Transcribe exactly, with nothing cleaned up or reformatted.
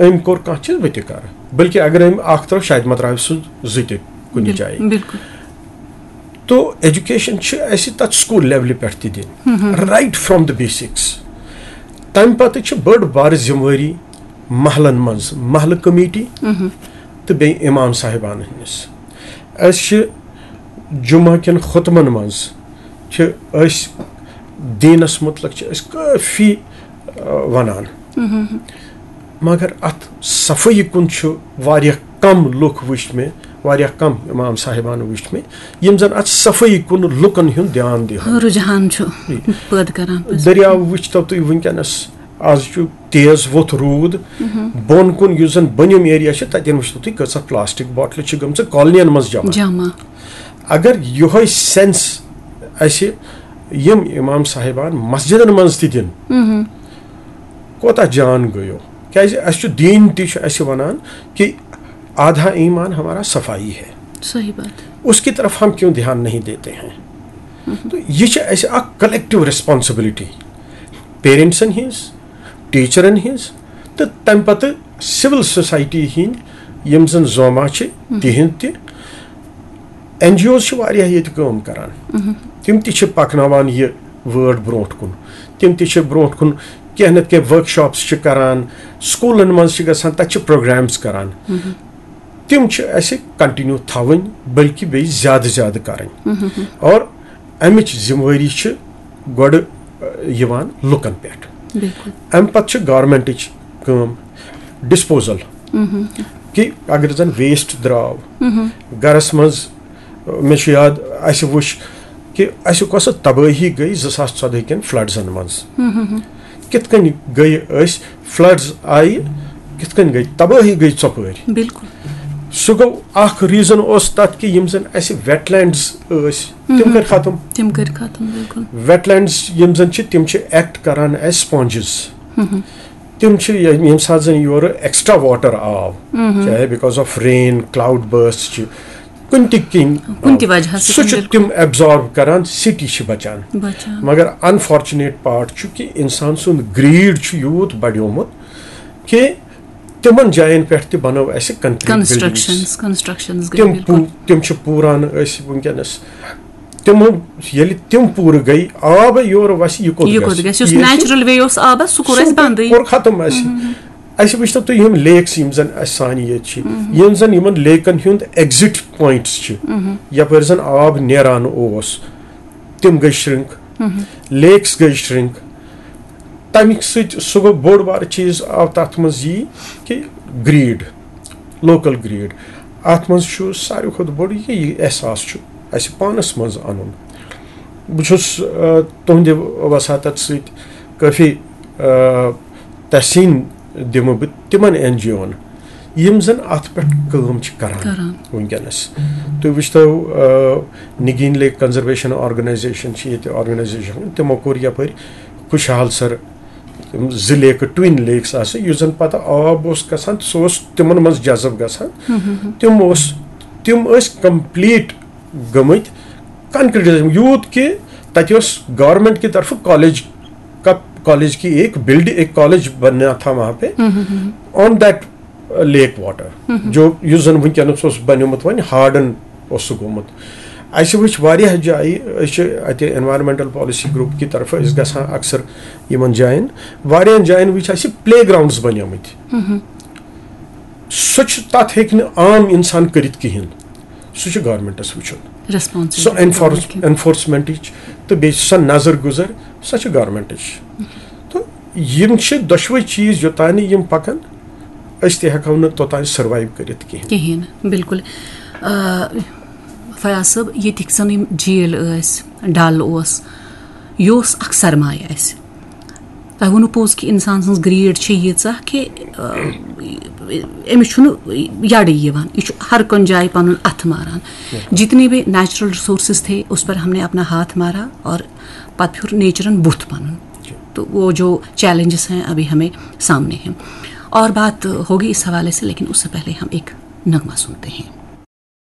أمۍ کوٚر کانٛہہ چیٖز، بہٕ تہِ کَرٕ۔ بلکہِ اگر أمۍ اَکھ ترٛٲو، شاہد مطرافہِ سٕنٛز زٕ تہِ کُنہِ جایہِ۔ بِلکُل۔ تو ایجوکیشن چھِ اَسہِ تَتھ سکوٗل لیولہِ پٮ۪ٹھ تہِ دِنۍ، right from the basics۔ تَمہِ پَتہٕ چھِ بٔڑ بارٕ ذِمہٕ وٲری محلن منٛز، محلہٕ کمیٹی تہٕ بیٚیہِ اِمام صاحبانَن ہٕنٛز۔ أسۍ چھِ جمعہ کٮ۪ن خطبن منٛز چھِ أسۍ دیٖنَس مُتعلق چھِ أسۍ کٲفی، آ، وَنان، مگر اَتھ صفٲیی کُن چھُ واریاہ کم لُکھ وٕچھ مےٚ، واریاہ کم اِمام صاحبان وٕچھ مےٚ، یِم زَن اَتھ صفٲیی کُن لُکن ہُنٛد دیان دِہن۔ رُجحان چھُ پٲدٕ کران پٔزۍ۔ دٔریاو وٕچھتو تُہۍ وٕنکیٚنَس، آز چھُ تیز ووٚتھ روٗد، بۄن کُن یُس زَن بۄنِم ایریا چھِ، تَتٮ۪ن وٕچھتو تُہۍ کۭژاہ پلاسٹک بوٹلہٕ چھِ گٔمژٕ کالنین منٛز جمع۔ جمع۔ اگر یِہوٚے سینس اَسہِ یِم اِمام صاحبان مسجدن منٛز تہِ دِن، کوتاہ جان گٔیو؟ کیازِ اَسہِ چھُ دیٖن تہِ چھُ اَسہِ وَنان کہ آدھا ایمان ہمارا صفائی ہے، صحیح بات۔ اس کی طرف ہم کیوں دھیان نہیں دیتے ہیں؟ تو یہِ چھِ اَسہِ اَکھ کلیکٹیو ریسپانسبلٹی پیرنٹسن ہٕنٛز، ٹیچرن ہٕنٛز، تہٕ تَمہِ پَتہٕ سول سوسائٹی ہٕنٛدۍ یِم زَن زوما چھِ، تِہِنٛد تہِ۔ این جی اوز چھِ واریاہ ییٚتہِ کٲم کران، تِم تہِ چھِ پَکناوان یہِ وٲڈ برونٛٹھ کُن۔ تِم تہِ چھِ برونٛٹھ کُن کینٛہہ نَتہٕ کینٛہہ ورک شاپس چھِ کران، سکوٗلن منٛز چھِ گژھان، تَتہِ چھِ پروگرامز کران۔ تِم چھِ اَسہِ کنٹینیو تھاوٕنۍ، بلکہِ بیٚیہِ زیادٕ زیادٕ کرٕنۍ۔ اور اَمِچ ذمہٕ وٲری چھِ گۄڈٕ، آ، یِوان لُکن پٮ۪ٹھ۔ بِلکُل۔ اَمہِ پَتہٕ چھِ گورمنٹٕچ کٲم ڈسپوزل، کہِ اگر زَن ویسٹ درٛاو گرس منٛز، آ، مےٚ چھُ یاد، اَسہِ وٕچھ کہِ اَسہِ کۄسہٕ تبٲہی گٔے زٕ ساس ژۄدہ کٮ۪ن فلڈزن منٛز۔ کِتھ کٔنۍ گٔے أسۍ، فلڈز آیہِ، کِتھ کٔنۍ گٔے تبٲہی گٔے ژۄپٲرۍ۔ بِلکُل۔ سُہ گوٚو اَکھ ریٖزن اوس تَتھ کہِ یِم زَن اَسہِ ویٹ لینڈز ٲسۍ، تِم کٔرۍ ختم۔ تِم کٔرۍ ختم، بِلکُل۔ ویٹ لینڈز یِم زَن چھِ، تِم چھِ ایکٹ کران ایز سپونجز۔ تِم چھِ ییٚمہِ ساتہٕ زَن یورٕ ایکسٹرا واٹر آو، چاہے because of rain، cloud burst چھِ، کُنہِ تہِ کِنۍ، کُنہِ تہِ وجہ سۭتۍ، سُہ چھُ بِلکُل۔ تِم ایبزارب کران، سٹی چھِ بچان۔ بچان۔ مگر انفارچونیٹ پارٹ چھُ کہِ انسان سُنٛد گریڈ چھُ یوٗت بڑیومُت کہِ تِمن جاین پٮ۪ٹھ تہِ بنٲو اَسہِ کنکریٹ کنسٹرکشنز، کنسٹرکشنز گٔے تِم بِلکُل۔ پوٗ-، تِم چھِ پوٗران أسۍ وٕنکیٚنس۔ تِم ییٚلہِ تِم پوٗرٕ گٔے، آب یورٕ وَسہِ، یہِ کوٚت یہِ گژھِ؟ کوٚت گژھِ؟ یُس یہِ چھُ نیچرل وے اوس آبس، سُہ کوٚر اَسہِ بنٛدٕے۔ کوٚر ختم اَسہِ۔ اَسہِ وٕچھتو تُہۍ یِم لیکس یِم زَن اَسہِ سانہِ ییٚتہِ چھِ، یِم زَن یِمَن لیکَن ہُنٛد ایگزِٹ پوینٹس چھِ، یَپٲرۍ زَن آب نیران اوس، تِم گٔے شرنک، لیکس گٔے شرنک۔ تَمہِ سۭتۍ سُہ گوٚو بوٚڑ بارٕ چیٖز آو تَتھ منٛز یی کہِ گریٖڈ، لوکل گریٖڈ۔ اَتھ منٛز چھُ ساروی کھۄتہٕ بوٚڑ یہِ، یہِ احساس چھُ اَسہِ پانَس منٛز اَنُن۔ بہٕ چھُس، آ، تُہنٛدِ وساطت سۭتۍ کٲفی، آ، تحسین دِمہٕ بہٕ تِمن این جی اوَن، یِم زن اتھ پٮ۪ٹھ کٲم چھِ کران۔ کران۔ وٕنکیٚنس تُہۍ وٕچھتو، آ، نگین لیک کنزرویشن آرگنائزیشن چھِ ییٚتہِ آرگنائزیشن، تِمو کوٚر یپٲرۍ خوشحال سر، تِم زٕ لیکہٕ، ٹوین لیکس آسہٕ، یُس زن پتہٕ آب اوس گژھان، سُہ اوس تِمن منٛز جذب گژھان۔ تِم اوس، تِم ٲسۍ کمپلیٹ گٔمٕتۍ کنکریٹائز، یوٗت کہِ تتہِ اوس گورنمنٹ کہِ طرفہٕ کالج کا، کالج کی ایک بلڈ، ایک کالج بننا تھا وہاں پہ، آن دیٹ لیک واٹر، جو یُس زن وٕنکیٚنس اوس بنیومُت وۄنۍ ہارڈن اوس سُہ گوٚمُت۔ اَسہِ وٕچھ واریاہ جایہِ، أسۍ چھِ اَتہِ انوائرمنٹل پالیسی گروپ کہِ طرفہٕ أسۍ گژھان اکثر یِمن جاین، واریاہن جاین وٕچھ اَسہِ پلے گراؤنڈز بنیمٕتۍ۔ سُہ چھُ، تَتھ ہیٚکہِ نہٕ عام اِنسان کٔرِتھ کِہیٖنۍ۔ سُہ چھُ گورمنٹَس وٕچھُن۔ ریسپانسبل سۄ انفورس، انفورسمنٹٕچ تہٕ بیٚیہِ سۄ نظر گُزر، سۄ چھِ گورمنٹٕچ۔ تہٕ یِم چھِ دۄشوٕے چیٖز، یوٚتانۍ نہٕ یِم پَکَن، أسۍ تہِ ہٮ۪کو نہٕ توٚتانۍ سٔروایِو کٔرِتھ کِہیٖنۍ۔ کِہیٖنۍ، بِلکُل۔ آ، فیاض صٲب، ییٚتِکۍ زَن یِم جھیٖل ٲسۍ، ڈل اوس، یہِ اوس اَکھ سرمایہِ اَسہِ۔ تۄہہِ ووٚنوُ پوٚز کہِ اِنسان سٕنٛز گریٖڈ چھِ ییٖژاہ کہِ، آ، أمِس چھُنہٕ یَڈٕے یِوان، یہِ چھُ ہر کُنہِ جایہِ پَنُن اَتھٕ ماران۔ جتنے بھی نیچرل ریسورسز تھے، اس پر ہم نے اپنا ہاتھ مارا اور پَتہٕ پھیُر نیچرن بُتھ پَنُن۔ تو وہ جو چیلنجز ہیں، ابھی ہمیں سامنے ہیں اور بات ہوگی اس حوالے سے، لیکن اس سے پہلے ہم ایک نغمہ سنتے ہیں۔